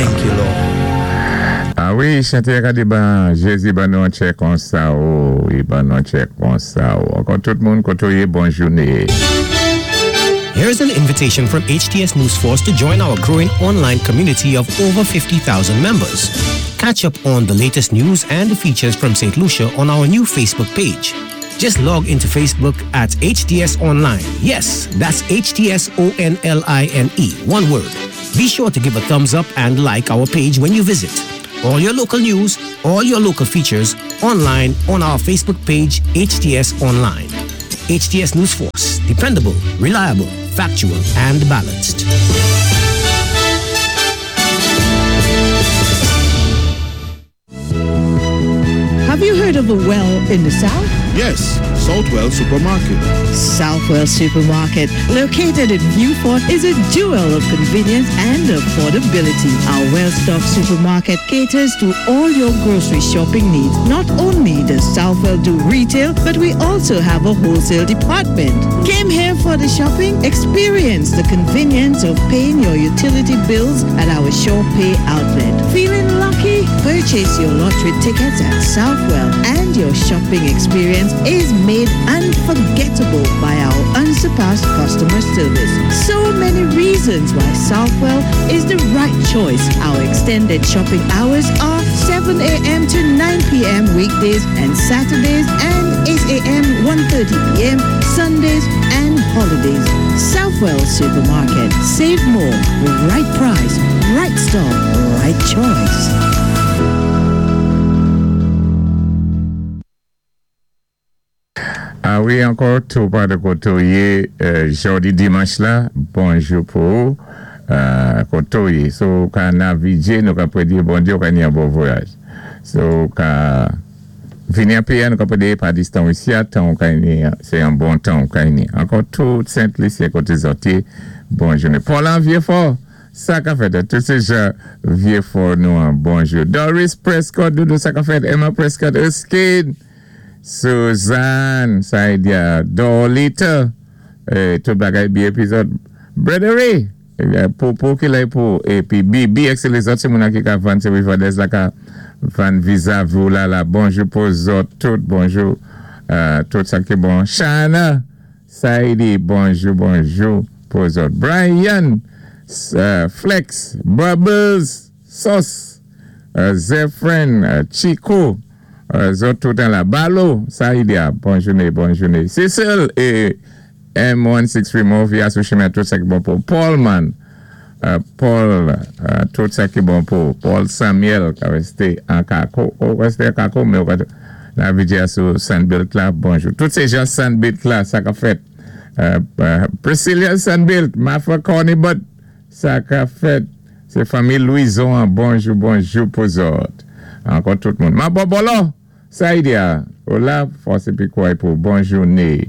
Thank you, Lord. A wi, chanté a ka di ban Jézi ban nou an tchè konsa o, i ban nou an tchè konsa o. Ankò tout moun koté ou yé, bon jouné. Here's an invitation from HTS News Force to join our growing online community of over 50,000 members. Catch up on the latest news and features from St. Lucia on our new Facebook page. Just log into Facebook at HTS Online. Yes, that's HTS O N L I N E. One word. Be sure to give a thumbs up and like our page when you visit. All your local news, all your local features online on our Facebook page, HTS Online. HTS News Force. Dependable, reliable, factual, and balanced. Have you heard of a well in the south? Yes, Saltwell Supermarket. Southwell Supermarket, located in Newport, is a jewel of convenience and affordability. Our well-stocked supermarket caters to all your grocery shopping needs. Not only does Southwell do retail, but we also have a wholesale department. Came here for the shopping? Experience the convenience of paying your utility bills at our Shore Pay outlet. Feeling lucky? Purchase your lottery tickets at Southwell and your shopping experience is made unforgettable by our unsurpassed customer service. So many reasons why Southwell is the right choice. Our extended shopping hours are 7 a.m. to 9 p.m. weekdays and Saturdays and 8 a.m. 1.30 p.m. Sundays and holidays. Southwell Supermarket. Save more. Right price. Right store. Right choice. A wi, ankò tou pa de koté ou yé jòdi dimanch la, bonjou pou ou koté ou yé. Si ou ka navigé, nou ka prédé Bondyé ou ka ni yon bon voyaj. Si ou ka vini an péyi a, nou ka prédé pa distan ou isi a, tan ou ka ni, sé yon bon tan ou ka ni. Ankò tout Sent Lisyen koté zòt yé, bon jouné. Paul an Vyé-Fò, sa ka fèt? Tout sé jan Vyé-Fò nou an, bonjou. Doris Prescott, doudou sa ka fèt? Emma Prescott, Erskine, Suzanne, Saidia, Dorlita, tout bagay byen épi zòt Brother Popo ki la pou épi Bibi èk sé lézòt sé moun ki ka vann sé Rivadez la ka vann vizavi ou la la bonjou pou zòt tout bonjou tout sa ki bon Shana Saidi bonjou bonjou pou zòt Brian Flex Bubbles Sauce Zephren Chico zòt tout an la Balo Saidia bon jouné bon jouné Cecile é M163 Movie a sou chimen tout sa ki bon pou Paulman Paul tout sa ki bon pou Paul Samuel ka resté an Kako ou resté an Kako men ou ka navigé a sou Sunbelt la bonjou tout sé jan Sunbelt la sa ka fèt Priscilla Sunbelt Mafra Cornibut sa ka fèt sé fanmi Louison an bonjou bonjou pou zòt ankò tout moun Mabò Bòlò Saidia ou la fòs épi kouray pou bon jouné.